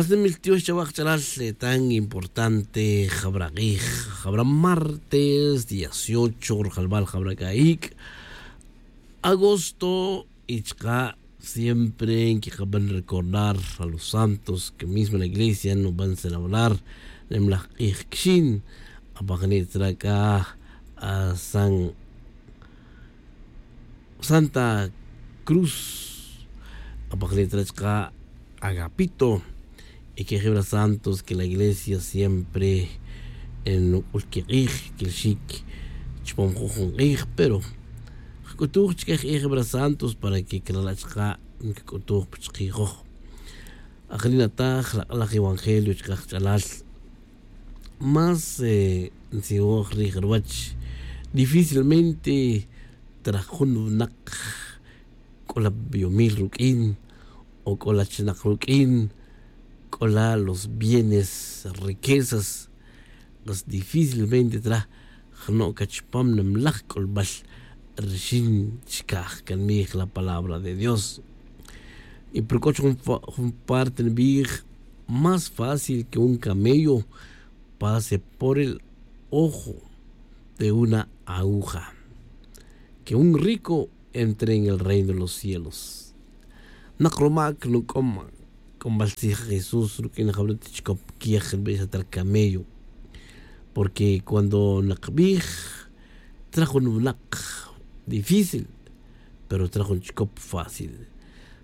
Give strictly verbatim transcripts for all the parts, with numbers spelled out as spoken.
Qas nimil tiox chawa kach'alal. Tan importante jabra k'ij, jabra martes dieciocho rjalbal jabra k'a ik' agosto. Y chaka' siempre nkiqaban recordar a los santos que mismo la iglesia nuban celebrar. Nimlaj k'ij kixin apaqni' tzra' k'a san santa cruz, apaqni' tzra' chaka' agapito. Y que jibra santos que la iglesia siempre nuk'ul kik'ij kilxik chupam jun jun k'ij. Pero jk'utuj chike jk'ij jibra santos para que krala' chaka' nkik'utuj pa chkijoj. Ajri' nataj lak'alaj evangelio chaka' kach'alal más ntzijoj rij ruwach. Difícilmente traj jun winak k'ola biyomil ruk'in o k'ola chinaq ruk'in, k'ola los bienes, riquezas, pues difícilmente traj jno' c'a chupam nimlaj c'ulbal rixin chicaj canmij la palabra de dios. Y pero c'o chujun parte nibij más fácil que un camello pase por el ojo de una aguja, que un rico entre en el reino de los cielos. Nak rumac nuc'om c'ombal tzij jesús ruq'uin jawre' ta chicop quiej nbix ta ri camello. Porque cuando nak bij traj jun winak difícil, pero traj jun chicop fácil.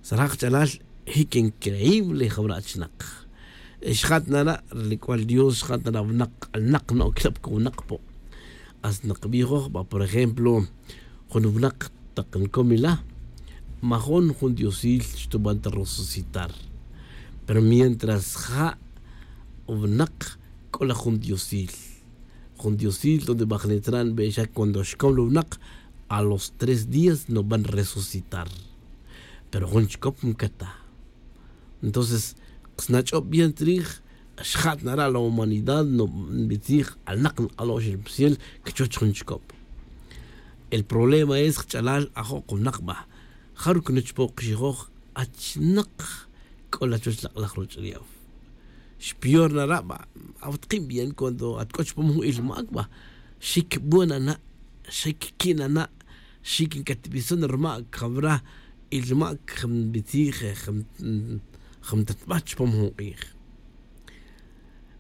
Saraj kach'alal jic increíble jawre' achinak. Xjat nara' ri c'ual dios xjat nara' winak k'alnak no' quilab cowunak po'. Hasta nak bijoj ba por ejemplo jun winak tak ncom ila, majon jun diosil xtuban ta resucitar. Pero mientras ja' winak c'o la jun diosil, jun diosil donde bajnitran nbixak cuando xcom la winak a los tres días nuban resucitar. Pero jun chicop ncata. Entonces snach'ob bien tzrij xjat nara' la humanidad nbitzij alnak nk'alo'x el psiel. Chuwech jun chicop el problema es kach'alal ajo' kunak ba. Jaru' kunuch po' kixijoj achnak c'o la chuwech lak'laj ruch'ulef. Xpior nara' ba awatkin bien cuando at c'o chupam jun ilmac ba xic buen ana', xic quin ana', xic ncatbison rumac jawra ilmac jam bitzij jam tatba chupam jun k'ij.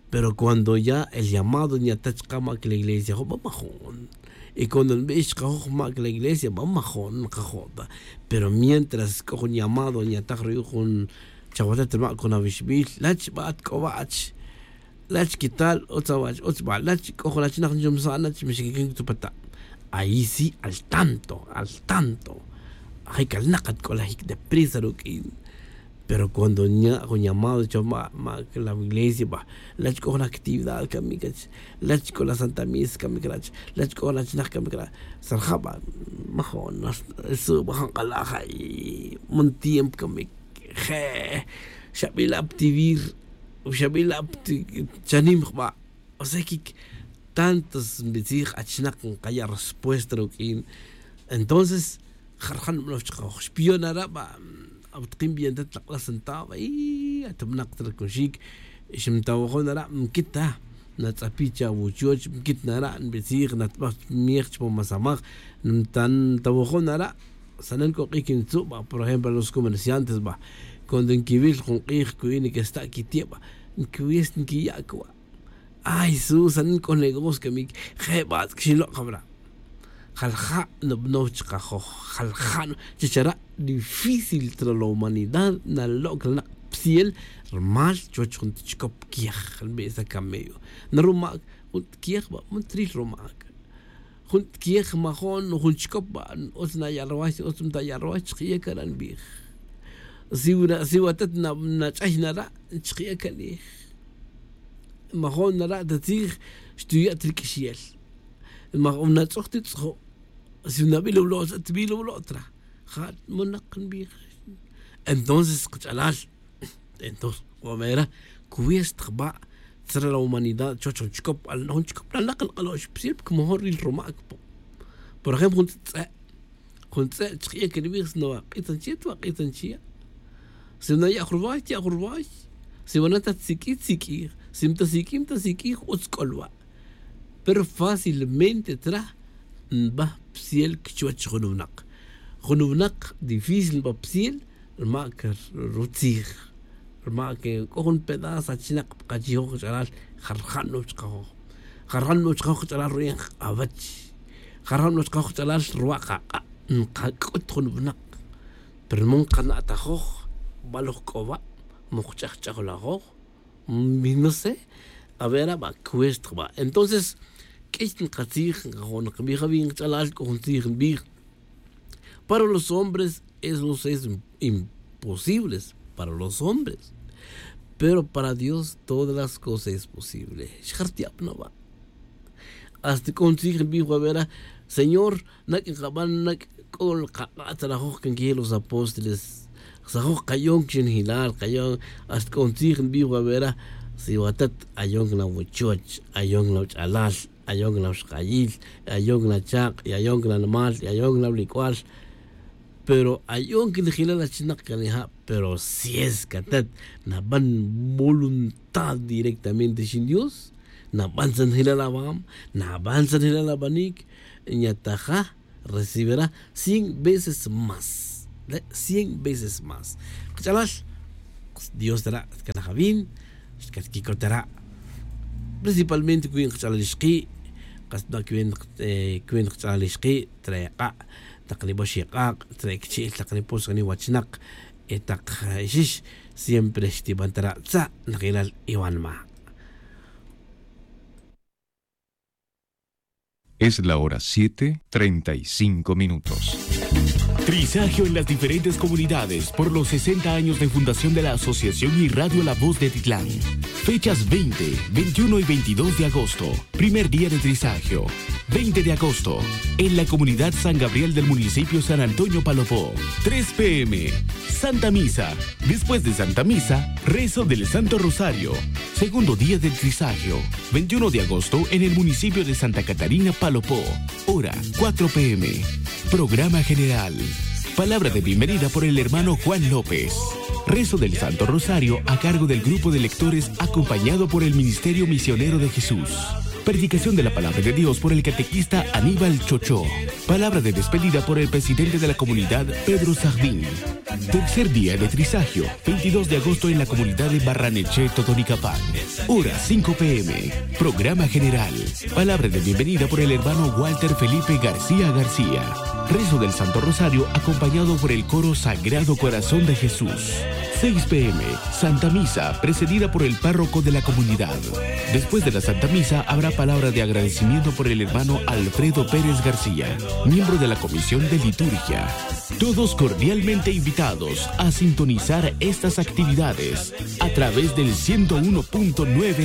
Pero cuando ya el llamado nyata chaka' mac la iglesia juba majon. Y cuando nbix chaka' joj mac la iglesia ba majon nkajo' ta. Pero mientras c'o jun llamado nyataj ruyu' jun chawatat rumac jun awixbil lach ba at c'o wach lach quital utz awach utz ba lach c'o jun achinak nchumsa' nach mixquiquin tu pata'. Ayi si al tanto al tanto. Ajay calnak at c'o la jic deprisa ruq'uin. Pero cuando nya' jun llamado cho ma' ma' la iglesia ba lach c'o jun actividad camic lach c'o la santa misa camic lach lach c'o jun achinak camic lach. Sarja' ba majon su' ba jun k'alaj ay. Mun tiempo camic je' xabila' pa tivir xabila' pa chanim jba'. O sea que tantos nbitzij achinak nkaya' respuesta ruq'uin. Entonces jarjan nbanow chaka' joj xpiyon nara' ba awatkin bien ta tlak'la sentado y at winak ta ri cuxic. Xmtawajon nara' nquit ta natz'api' cha wuchoch nquit nara' nbitzij natbaj miej chupam asamaj. Ntawajon nara' sanen c'o k'ic ntzu' ba por ejemplo los comerciantes ba cuando nquiwil jun k'ij cuwi' niquesta' quiti'e' ba nquiwil nquiya' cuwa'. Ay su sanen c'o negocio camic je' ba xilok' jawra'. Jalja' nubanow chaka' joj jalja' chi chara' difícil tra la humanidad naloc la nak' psiel. Rumal chuwech jun ta chicop quiej nbisa camello na rumac jun ta quiej ba man tril rumac. Jun ta quiej majon jun chicop ba utz naya' ruway utz mtaya' ruway chkiya' cara' nbij. Si watat nach'ay nara' chkiya' canij. Majon nara' ta tzij xtuya' ta ri q'uixyel. Majon natz'oj ti tz'ojo'. Si nabil awulo' tz'a tibil awulo' tra ja' monak nbij. Entonces kach'alal entonces c'o mera cuesta jba' tzra la humanidad chuwech jun chicop jun chicop la nak nk'alo'x psiel porque majun ril rumac po'. Por ejemplo jun tz'e' jun tz'e' chkiya' canibij si nawak'it nchiya' twak'it nchiya'. Si naya' jun ruway tiya' jun ruway. Si wana ta tsik'i tsik'ij, si mta sik'i mta sik'ij utz k'o lwa'. Pero fácilmente tra nba psiel kichwach jun winak. Jun winak difícil nba psiel rma' que rutzij, rma' que k'o jun pedazo achinak pa kachijoj kach'alal, jarjan nuj chkajoj, jarjan nuj chkajoj kach'alal ru'in q'awech, jarjan nuj chkajoj kach'alal rwa' qaq'a'. Nqak'ut jun winak pero man nqana'tajoj baloj k'o wa', man qch'ajch'ajolajoj. Mi no sé. A ver, a ba cuesta ba. Entonces k'ix nqatzij, nqajo' nqbij awi' nqach'alal, k'o jun tzij nbij: para los hombres eso es imposibles, para los hombres, pero para Dios todas las cosas es posible. Xjartiab' na ba. Hasta k'o jun tzij nbij wa vera, Señor, nak' nqaban, nak' k'o qaq'a' tzalajoj can queje los apóstoles. Sajoj kayon chi nijilal, kayon. Hasta k'o jun tzij nbij wa vera, si watat, ayon can awuchoch, ayon can awach'alal, ayon can awixkayil, ayon can achak', y ayon can animal, y ayon can awulic'ual. Pero ayon can nijilal achinak can ija', pero si es que atat naban voluntad directamente xin Dios, naban tzan nijilal awam, naban tzan nijilal abanic, ñataja recibirá cien veces más. Cien veces más. Kach'alal, Dios tara' xtcalaj awin, xtcalaj quicot tara'. Principalmente cuenta kach'alal ixki', kas na cuenta, cuenta kach'alal ixki', trae ak'a', tak nibox ik'ak', trae kichi'l, tak nipox, tak niwachnak, y tak ixix, siempre xtiban tara' tza' najilal iwanma'. Es la hora siete, treinta y cinco minutos. Trisagio en las diferentes comunidades por los sesenta años de fundación de la Asociación y Radio La Voz de Titlán. Fechas veinte, veintiuno y veintidós de agosto. Primer día de Trisagio. Veinte de agosto, en la comunidad San Gabriel del municipio San Antonio Palopó. Tres p m, Santa Misa. Después de Santa Misa, rezo del Santo Rosario. Segundo día del Trisagio, veintiuno de agosto, en el municipio de Santa Catarina, Palopó. Hora, cuatro p m. Programa general. Palabra de bienvenida por el hermano Juan López. Rezo del Santo Rosario a cargo del grupo de lectores acompañado por el Ministerio Misionero de Jesús. Predicación de la palabra de Dios por el catequista Aníbal Chochó. Palabra de despedida por el presidente de la comunidad, Pedro Sardín. Tercer día de Trisagio, veintidós de agosto en la comunidad de Barranechea, Totonicapán. Hora, cinco p m. Programa general. Palabra de bienvenida por el hermano Walter Felipe García García. Rezo del Santo Rosario acompañado por el coro Sagrado Corazón de Jesús. Seis p m, Santa Misa, precedida por el párroco de la comunidad. Después de la Santa Misa habrá palabra de agradecimiento por el hermano Alfredo Pérez García, miembro de la Comisión de Liturgia. Todos cordialmente invitados a sintonizar estas actividades a través del ciento uno punto nueve